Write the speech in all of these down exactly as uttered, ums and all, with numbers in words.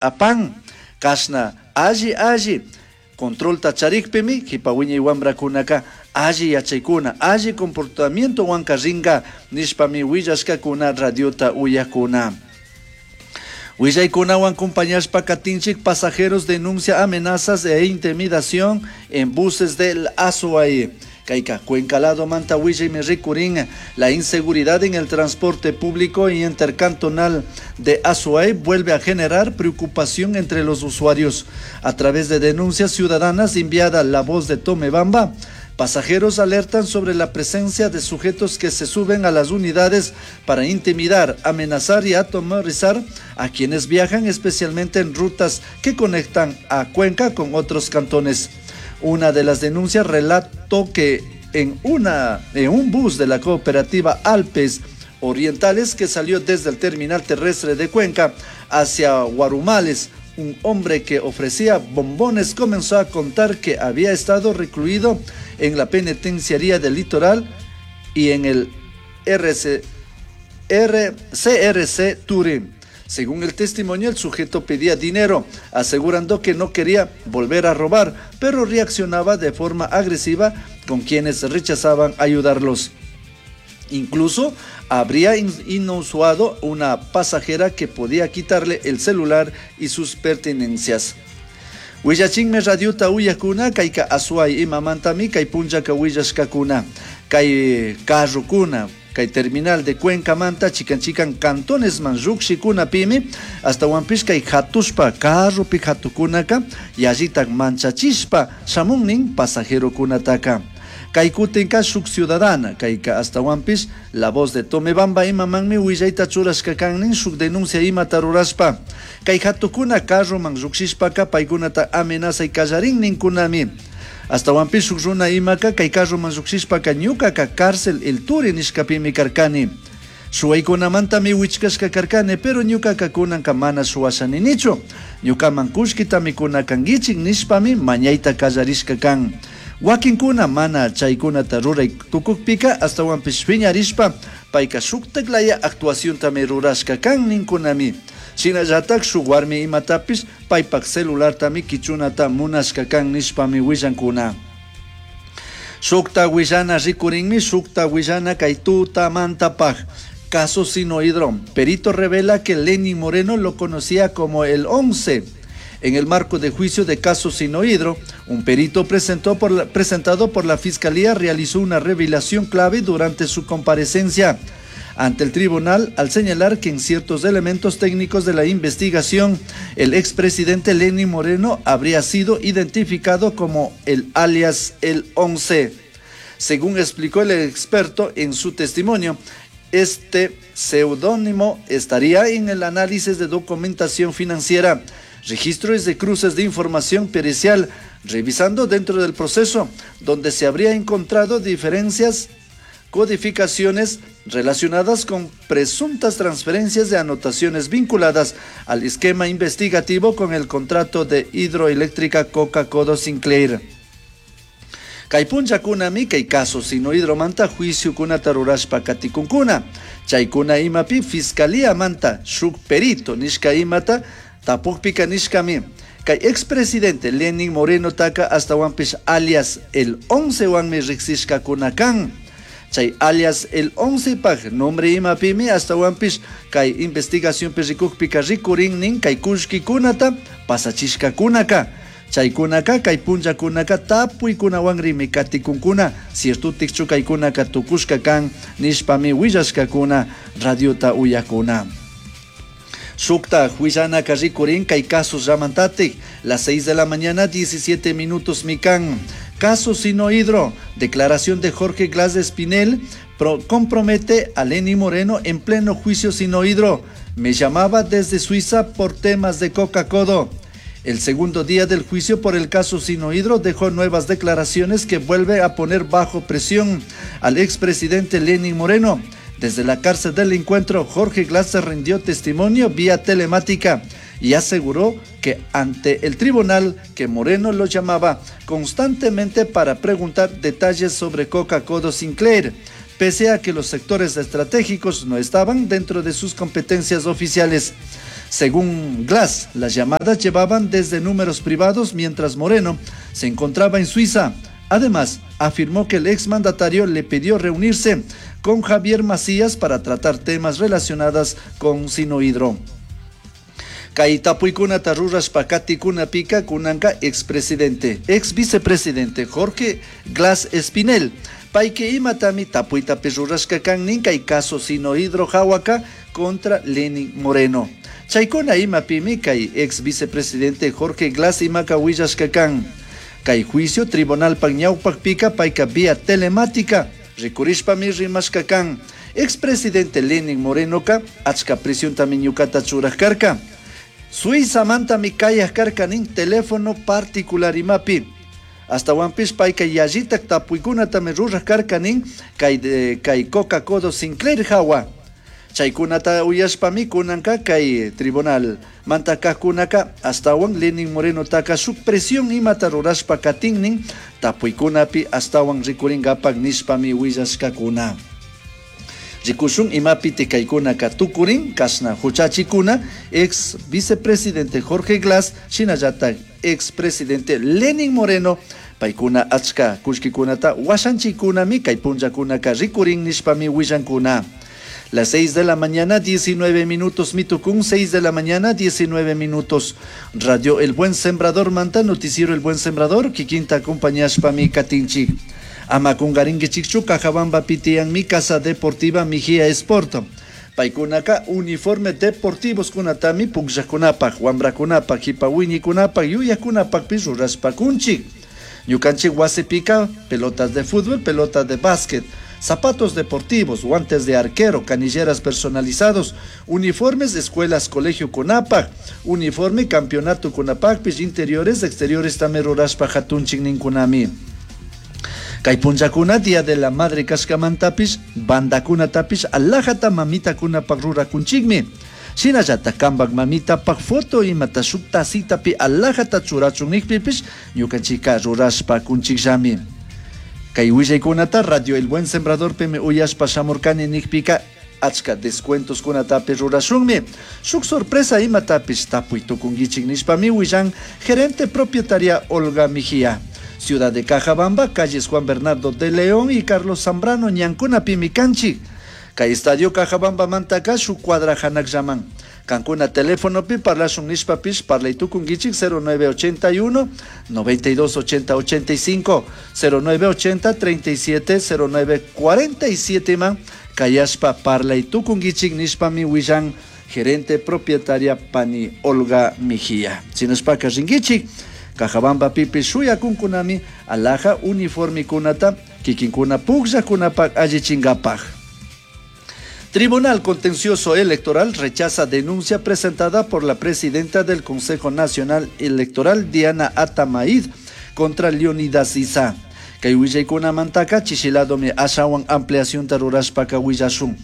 Apan kashna alli alli controlta charikpimi kipa wiñay wamrakunaka alli yachaykuna alli comportamientowanka rinka nishpami willashkakuna radiota uyakuna. Willaykunawan acompañashpa katinchik pasajeros denuncia amenazas e intimidación en buses del Azuay. Kayka Cuenca lado manta willaymi rikurin la inseguridad en el transporte público y intercantonal de Azuay vuelve a generar preocupación entre los usuarios. A través de denuncias ciudadanas enviada La Voz de Tomebamba, pasajeros alertan sobre la presencia de sujetos que se suben a las unidades para intimidar, amenazar y atemorizar a quienes viajan, especialmente en rutas que conectan a Cuenca con otros cantones. Una de las denuncias relató que en, una, en un bus de la cooperativa Alpes Orientales que salió desde el terminal terrestre de Cuenca hacia Guarumales, un hombre que ofrecía bombones comenzó a contar que había estado recluido en la penitenciaría del Litoral y en el R C, R, C R C Turín. Según el testimonio, el sujeto pedía dinero, asegurando que no quería volver a robar, pero reaccionaba de forma agresiva con quienes rechazaban ayudarlos. Incluso habría in-, inusuado una pasajera que podía quitarle el celular y sus pertenencias. Willachinme radiota uyakuna, kayka Azuay imamantami, kay punllaka willashkakuna, kay carrokuna, kay terminal de Cuenca manta, chikan chikan cantones man llukshikuna pimi, hasta Huampish kay hatushpa, carropi hatukunaka, yallitak manchachishpa, shamunnin pasajerokunataka. Kay kutinka shuk ciudadana, kayka hasta Huampish, La Voz de Tomebamba imamanmi willayta churashka kannin shuk denuncia imata rurashpa. Kay hatukuna carro man llukshishpaka paykunata amenazay kallarin ninkunami. Hasta Huampish shuk runa imaka kay carro man llukshishpaka ñukaka cárcel El Turi nishkapimi karkani. Shuwaykunamantami wichkashka karkani, pero ñukaka kunanka mana shuwashaninichu. Ñukaman kullkitami kunakankichik nishpami mañayta kallarishka kan. Wakinkuna mana chaykunata ruray tukukpika hasta Huampish piñarishpa payka shuktaklaya actuaciontami rurashka kan ninkunami. Shinallatak shuk warmi imatapish paypak celulartami kichunata munashka kan nishpami willankuna. Shukta willana rikurinmi, shukta willana kay tutamantapaj. Caso Sinohidro. Perito revela que Lenín Moreno lo conocía como el once. En el marco de juicio de caso Sinohidro, un perito presentó por la, presentado por la Fiscalía realizó una revelación clave durante su comparecencia ante el tribunal al señalar que en ciertos elementos técnicos de la investigación, el expresidente Lenín Moreno habría sido identificado como el alias El once. Según explicó el experto en su testimonio, este seudónimo estaría en el análisis de documentación financiera, registros de cruces de información pericial, revisando dentro del proceso, donde se habría encontrado diferencias, codificaciones relacionadas con presuntas transferencias de anotaciones vinculadas al esquema investigativo con el contrato de hidroeléctrica Coca-Codo Sinclair. Kay punllakunami kay caso Sinohidromanta juicio kunata rurashpa katikunkuna. Chaykuna imapi fiscalía manta shuk perito nishka imata tapukpika nishkami. Kay expresidente Lenín Moreno taka hasta Huampish alias el once wanmi riksishka kunakan. Chay alias el once paj nombre imapimi hasta Huampish kay investigación perikukpika rikurin nin kay kushki kunata pasachishka kunaka. Chaykunaka kay punllakunaka tapuykunawanrimi katikunkuna cierto tikchu kaykunaka tukushka kan nishpami willashkakuna radiota uyakuna. Shukta huillanaka rikurin kay casos llamantatik, las seis de la mañana diecisiete minutos mikan. Caso Sinohidro, declaración de Jorge Glas Espinel pro-, compromete a Lenín Moreno en pleno juicio Sinohidro. Me llamaba desde Suiza por temas de Coca-Codo. El segundo día del juicio por el caso Sinohidro dejó nuevas declaraciones que vuelve a poner bajo presión al expresidente Lenín Moreno. Desde la cárcel del encuentro, Jorge Glas rindió testimonio vía telemática y aseguró que ante el tribunal que Moreno lo llamaba constantemente para preguntar detalles sobre Coca-Codo Sinclair, pese a que los sectores estratégicos no estaban dentro de sus competencias oficiales. Según Glas, las llamadas llevaban desde números privados mientras Moreno se encontraba en Suiza. Además, afirmó que el exmandatario le pidió reunirse con Javier Macías para tratar temas relacionados con Sinohidro. Kay tapuykunata rurashpa katikunapika kunanka expresidente, ex vicepresidente Jorge Glas Espinel. Payka imatami tapuytapish rurashka kan nin kay caso Sinohidro hawaka contra Lenin Moreno. Chaykuna imapimi kay ex vicepresidente Jorge Glas imaka willashka kan. Kay juicio tribunalpak ñawpakpika payka vía telemática rikurishpami rimashka kan. Expresidente Lenin Morenoka achka presiontami ñukata churaj karka. Suizamantami kayaj karka nin teléfono particular imapi. Ashtahuanpish payka yallitak tapuykunatami ruraj karka nin kay, kay Coca Codo Sinclair hawa. Chaykunata uyashpami kunanka kay tribunal mantakajkunaka ashtawan Lenin Moreno taka shuk presión imata rurashpa katin nin tapuykunapi ashtawan rikurinkapak nishpami willashkakuna. Rikushun imapi tikaykunaka tukurin kashna huchachikuna ex vicepresidente Jorge Glas shinallatak ex presidente Lenin Moreno paykuna achka kullkikunata washanchikunami kay punllakunaka rikurin nishpami willankuna. Las seis de la mañana, diecinueve minutos, Mitucún, seis de la mañana, diecinueve minutos. Radio El Buen Sembrador, Manta, Noticiero El Buen Sembrador, kikinta acompañashpami katinchik. Ama kungarinkichikchu, Cajabamba pitian mi casa deportiva Mijía Sport. Paykunaka uniforme deportivos kunatami pukllakunapak, wambrakunapak, hipawiñikunapak, yuyakunapakpish rurashpakunchik. Ñukanchik wasipika, pelotas de fútbol, pelotas de básquet, zapatos deportivos, guantes de arquero, canilleras personalizados, uniformes, escuelas, colegio Conapac, uniforme, campeonato Conapac, pis interiores, exteriores, también rurashpa hatunchik ninkunami. Kay punllakuna, Día de la Madre kashkamantapis, bandakunatapish, alajata mamitakunapak rurakunchikmi. Shinallata kampak mamitapak foto imata shuk tacitapi alajata churachun nikpipish, ñukanchika rurashpa kunchikllami. Kay willaykunata Radio El Buen Sembrador pimi uyashpa shamurkani nikpika achka descuentos kunatapi rurashunmi. Shuk sorpresa imatapish tapuy tukunkichik nishpami willan gerente propietaria Olga Mejía. Ciudad de Cajabamba, calles Juan Bernardo de León y Carlos Zambrano, ñankuna pimi kanchik. Kay estadio Cajabamba mantaka shuk cuadra hanak llaman. Cancuna teléfono pi parlashun nishpapish parlay tukunkichik cero nueve ochenta y uno, noventa y dos ochenta ochenta y cinco, cero nueve ochenta, treinta y siete, cero nueve cuarenta y siete man, kayashpa parlay tukunkichik nishpami willan gerente propietaria pani Olga Mejía. Sinashpaka rinkichik, Cajabamba pipi shuyakunkunami alhaja uniforme kunata kikinkuna pukllakunapak allichingapak. Tribunal Contencioso Electoral rechaza denuncia presentada por la presidenta del Consejo Nacional Electoral, Diana Atamaid, contra Leonidas Iza. Kay willaykunamantaka chishiladomi ashawan ampliación tarurashpaka willashun.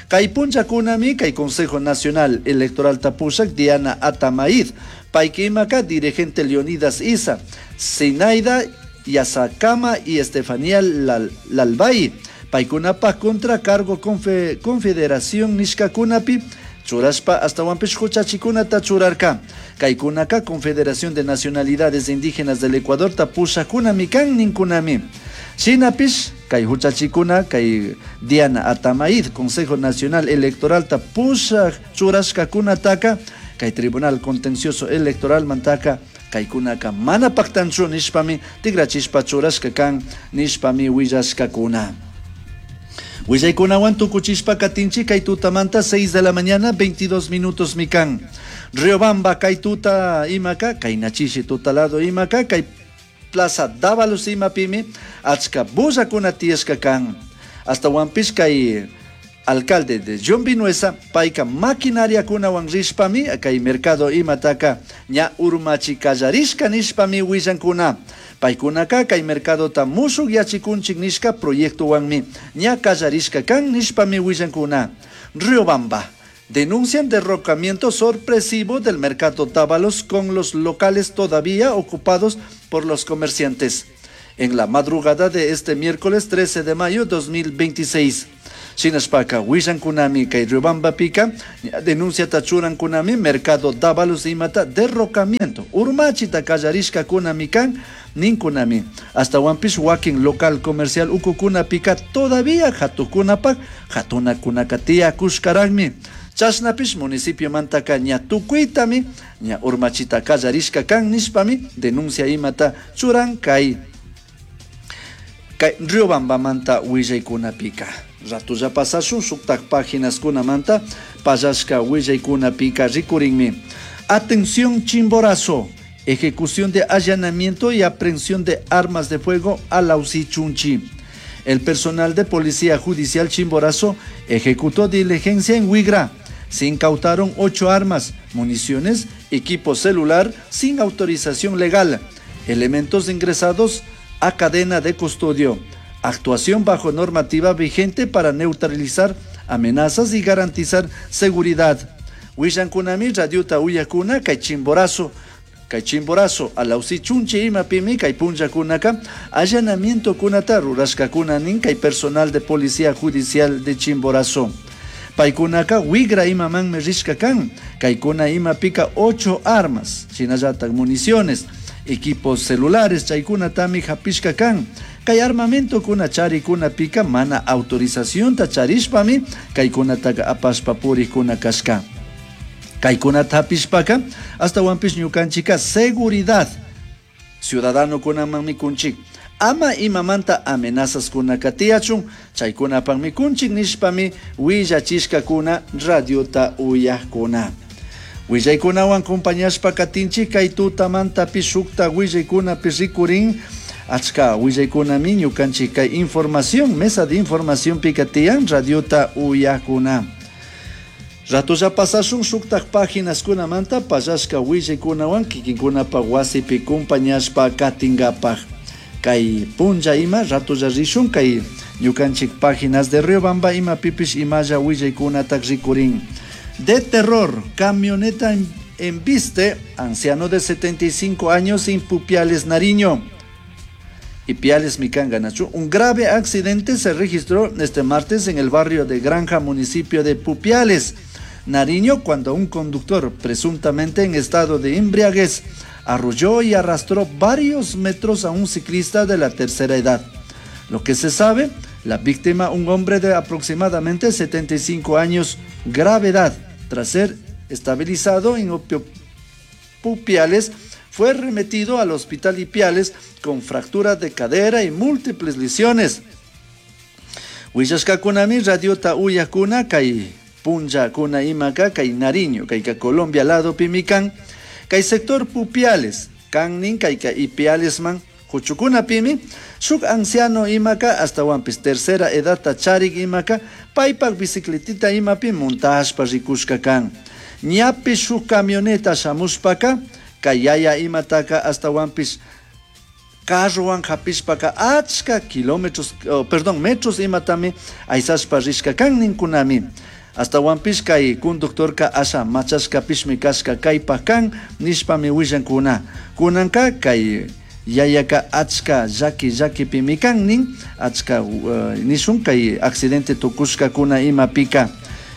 Kay punllakunami kay Consejo Nacional Electoral tapushak Diana Atamaid, paykimaka dirigente Leonidas Iza, Zenaida Yasacama y Estefanía Lal-, Lalbay. Paykunapaj contra cargo confe-, Confederación Nishkakunapi, churashpa hasta huanpish huchachikunata churarka. Kaykunaka Confederación de Nacionalidades Indígenas del Ecuador tapushakunami kan ninkunami. Shinapish kay huchachikuna kay Diana Atamaid, Consejo Nacional Electoral tapusha churashkakunataka, kay Tribunal Contencioso Electoral mantaka kaykunaka mana paktanchu nishpami tigrachishpa churashka kan nishpami willashkakuna. Willaykunawan tukuchishpa katinchi kay tutamanta seis de la mañana veintidós minutos mikan. Riobamba kay tuta imaka, kay nachishi tutalado imaka, kay Plaza Dávalos imapimi, achka bullakuna tiyashka kan. Hasta huanpish kay alcalde de John Vinuesa, payka maquinaria kunawan rishpami, kay mercado imataka ña urmachi kallarishka nishpami willankuna. Paykunaka kay mercadota mushuk yachikunchik nishka proyectowanmi ña kallarishka kan nishpami willankuna. Riobamba. Denuncian derrocamiento sorpresivo del mercado Dávalos con los locales todavía ocupados por los comerciantes. En la madrugada de este miércoles trece de mayo dos mil veintiséis. Shinashpaka willankunami kay Riobambapika denunciata churankunami mercado Dávalos imata derrocamiento urmachita kallarishkakunami kan ninkunami. Ashtawanpish wakin local comercial ukukunapika todavía hatukunapak hatunakunaka tiyakushkaragmi. Chashnapish municipiomantaka ña tukuytami ña urmachita kallarishka kan nishpami denuncia imata churan kay kay Riobambamanta willaykunapika. Ratulla pasashun shuktak paginaskunamanta pallashka willaykunapika rikurinmi. Atención Chimborazo, ejecución de allanamiento y aprehensión de armas de fuego a Chunchi. El personal de Policía Judicial Chimborazo ejecutó diligencia en Huigra. Se incautaron ocho armas, municiones, equipo celular sin autorización legal, elementos ingresados a cadena de custodio. Actuación bajo normativa vigente para neutralizar amenazas y garantizar seguridad. Willankunami radiota uyakuna kay Chimborazo, kay Chimborazo, Alausi Chunchi imapimi kay punllakunaka allanamiento kunata rurashkakuna nin kay personal de Policía Judicial de Chimborazo. Paykunaka Huigra imamanmi rishka kan, kaykuna imapika ocho armas, shinallatak municiones, equipos celulares chaykunatami hapishka kan. Kay armamento kuna charikuna pika mana autorización ta charishpami kaykunataka apashpa purikuna kashka. Kaykunata hapishpaka ashtawanpish ñukanchika seguridad ciudadano kunamanmi kunchik. Ama imamanta amenazas kunaka tiyachun chaykunapakmi kunchik nishpami willachishkakuna radiota uyakuna. Willaykunawan compañashpa katinchik kay tutamantapish shukta willaykunapish rikurin achka willaykunami ñukanchik kay información mesa de información pika tiyan radiota uyakuna. Ratulla pasashun shuktak paginaskunamanta pallashka willaykunawan kikinkunapak wasipi compañashpa katinkapak. Kay punlla ima ratulla rishun kay ñukanchik páginas de Riobamba imapipish imalla willaykunatak rikurin. De terror, camioneta embiste, anciano de setenta y cinco años en Pupiales, Nariño. Ipiales, Micanganachu. Un grave accidente se registró este martes en el barrio de Granja, municipio de Pupiales, Nariño, cuando un conductor, presuntamente en estado de embriaguez, arrolló y arrastró varios metros a un ciclista de la tercera edad. Lo que se sabe, la víctima, un hombre de aproximadamente setenta y cinco años, gravedad, tras ser estabilizado en Pupiales, fue remitido al hospital Ipiales con fractura de cadera y múltiples lesiones. Huillashkakunami radiota uyakuna kay punlla kuna imaka kay Nariño, kay ka Colombia lado pimikan, kay sector Pupiales, kannin kay ka Ipiales man, huchukuna pimi, shuk anciano imaka hasta wampis tercera edad charik imaka, paypak bicicletita imapi montashpa rikushka kan. Ñapi shuk camioneta shamushpaka, kay yaya imataka hasta wampis carrowan hapishpaka achka kilómetros, oh, perdón, metros imatami aysashpa rishka kan ninkunami. Hasta wampis kay conductorka asha machashka pishmi kashka kaypa kan nishpami willankuna. Kunanka kay yayaka achka llaki llakipimi kan nin, achka, uh, nishun kay accidente tukushka kuna imapika.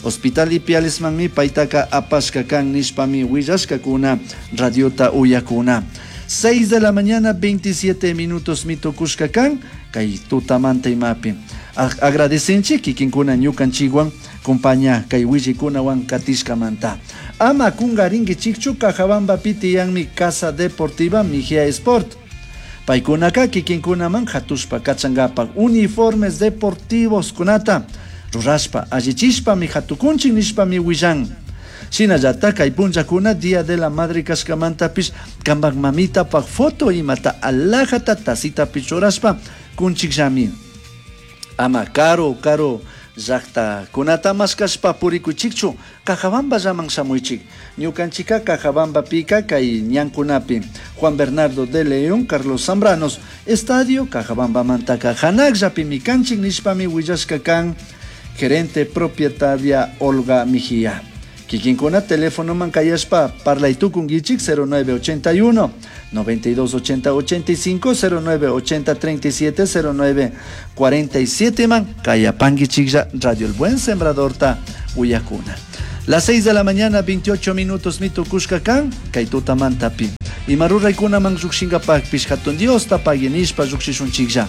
Hospital Ipialesmanmi paytaka apashka kan nishpami willashkakuna radiota uyakuna. seis de la mañana, veintisiete minutos mitukushka kan kay tutamanta imapi. Agradecenchik kikinkuna ñukanchikwan compañía kay willikunawan katishkamanta. Ama kungarinkichikchu Cajabamba pitiyanmi Casa Deportiva Mejía Sport. Paykunaka kikinkunaman hatushpa kachankapak uniformes deportivos kunata rurashpa allichishpami hatukunchik nishpami willan. Shinallata kay punllakuna Día de la Madre kashkamantapish kampak mamitapak foto imata alajata tacitapish churashpa kunchikllami. Ama karo karo llakta kunata mashkashpa purikuchikchu Cajabamba llaman shamuychik. Ñukanchika Cajabamba pika kay ñankunapi Juan Bernardo de León, Carlos Zambranos, Estadio Cajabamba mantaka hanakllapimi kanchik nishpami willashka kan gerente propietaria Olga Mejía. Kikinkuna telefonoman kayashpa parlaytukunkichik cero nueve ochenta y uno, noventa y dos ochenta ochenta y cinco, cero nueve ochenta treinta y siete, cero nueve cuarenta y siete man kayapankichiklla Radio El Buen Sembradorta uyakuna. Las seis de la mañana, veintiocho minutos, mitukushka kan, kay tutamantapi. Ima ruraykunaman llukshinkapakpish hatun Diosta paguinishpa llukshishunchiklla.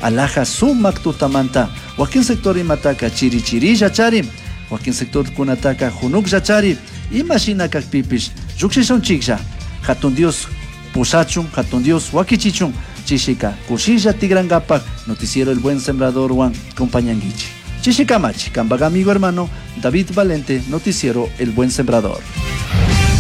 Alaja sumak tutamanta, wakin sector imataka chiri chirilla chari, wakin sector kunataka junuklla chari, ima shina kakpipish llukshishunchiklla. Hatun Dios pushachun, hatun Dios wakichichun, chishika kushilla tigrankapak, noticiero El Buen Sembrador wan compañanguichi. Chishikamachi, kampak amigo hermano David Valente, noticiero El Buen Sembrador.